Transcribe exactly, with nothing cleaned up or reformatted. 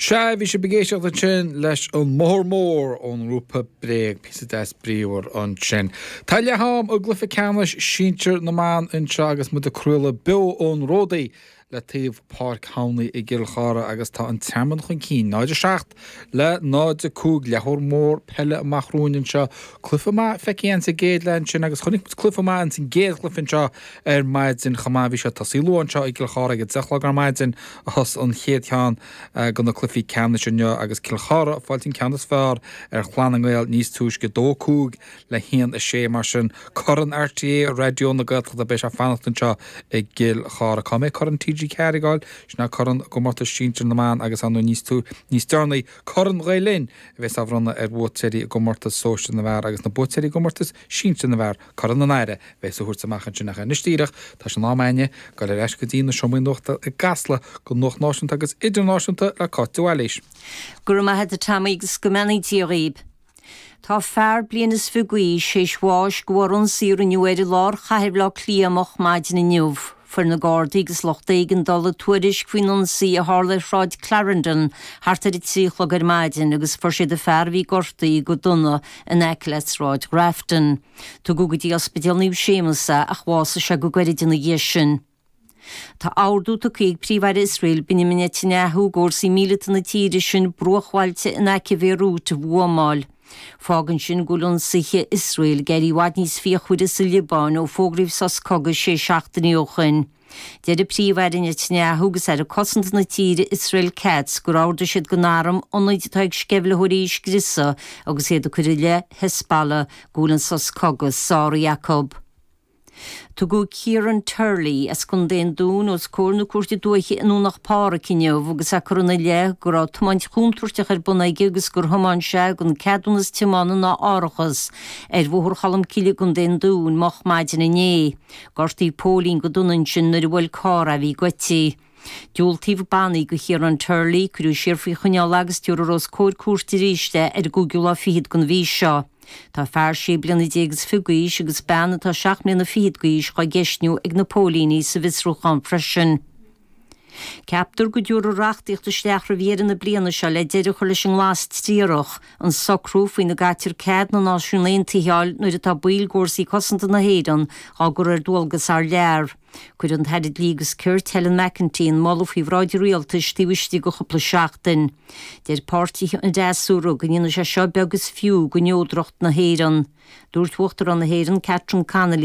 Sea, bhí sibh ag éisteacht ansin leis an mBóthar Mór ón ngrúpa Bréag, píosa deas bríomhar ansin. Tá leath-am i gcluiche ceannais sinsir na mban anseo agus muid ag craoladh beo ón Ródaí le taobh Páirc Thomhnai i gCill Chartha agus tá an Tearmann chun cinn náid a seacht le náid a cúig leathuair mór peile amach romhainn anseo. Cluiche maith feicthe againn sa gcéad leath ansin agus chonaic muid cluiche maith ins an gcéad chluiche anseo ar maidin chomh maith bhí sé tosaí luath anseo i gCill Chartha ag a deich a chlog ar maidin a thosaigh an chéad cheann de na cluichí ceannais inniu agus Cill Chartha ag fáilt an ceann is fearr ar Chlann na nGael níos túisce dó a cúig le haon a sé mar sin Corn RTÉ Raidió na Gaeltachta beidh sé fanacht anseo i gCill Chartha. Cá mbeidh Corn TG ceathair ag gabháil sin ná Corn gComórtas Sinsir na mBan agus ann níos tú níos deireanaí Corn Ghael Linn a bheas á bhronnadh ar bhuaiteoirí i gcomórtas sóisir na bhfear agus na buaiteoirí i gcomórtas sinsir na bhfear Corn an Aire bheas á thabhairt amach ansin ach anois díreach tá sé in am againne dul ar ais go dtí na seomraí nuachta i gCasla go nuacht náisiúnta agus idirnáisiúnta le Cáit de Bhailís. Go raibh maith agat Tommy agus go mbeannaí Dia dhaoib. Tá fear bliain is fiche d'aois théis bháis de bharr ionsaí a rinneadh air i lár chathair Bhaile Átha Cliath moch maidin inniu. Fuair na Gardaí agus lucht éigeandála tuairisc faoin ionsaí a tharla ar Shráid Clarendon thart ar a trí a chlog ar maidin agus fuair siad an fear a bhí gortaithe go dona in aice le Sráid Grafton. Tugadh go dtí Ospidéal Naomh Séamus é ach bhásaigh sé go gairid ina dhiaidh sin. Tá ordú tugtha ag Príomh-Aire Iosrael Benjamin Netanyahu d'fhórsaí míleata na tíre sin bruachbhailte in aice Bhéiriút a bhuamáil. Fágann sin go bhfuil ionsaithe Iosrael ag éirí i bhfad níos fíochmhaire sa Liobáin ó fógraíodh sos cogaidh sé seachtainí ó shin. Deir Príomh-Aire Netanyahu agus Aire Cosanta na tíre Israel Katz gur ordaigh siad don arm ionaid atá ag sceimhlitheoirí a scriosadh agus iad ag cur i leith Hezbollah go bhfuil an sos cogaidh sáraithe acu. Tugadh Kieran Turley as Contae an Dúin os comhair na cúirte dúiche i nDomhnach Páraic inniu agus é curtha ina leith go raibh tiomáint chontúirteach ar bun aige agus gur thiomáin sé gan ceadúnas tiomána ná árachas ar Bhóthar Cholmcille i gContae an Dúin moch maidin inné. Gortaíodh póilín go dona ansin nuair a bhuail carr é a bhí goidte. Diúltaíodh bannaí do Chiarán Turley, cuireadh siar faoi choinneáil agus tabharfar os comhair cúirte arís é ar an gcúigiú lá fichead den mhí seo. Tá fear sé bliana déag is fiche d'aois agus bean atá seacht mbliana fichead d'aois á gceistniú ag na póilíní sa bhfiosrúchán freisin. Ceaptar go dtabharfar reachtaíocht isteach roimh dheireadh na bliana seo le deireadh a chur leis an nglas triarach, an socrú faoina gcaitear cead na Náisiún Aontaithe a fháil nuair atá baill d'fhórsaí cosanta na hÉireann á gcur ar dualgas thar lear. Cuirfidh an tAire Dlí agus Cirt Helen McEntee an moladh faoi bhráid an rialtais taobh istigh de chúpla seachtain. Deir páirtithe an fhreasúra go ndéanfaidh sé seo beag is fiú de neodracht na hÉireann. Dúirt Uachtarán na hÉireann Catherine Connolly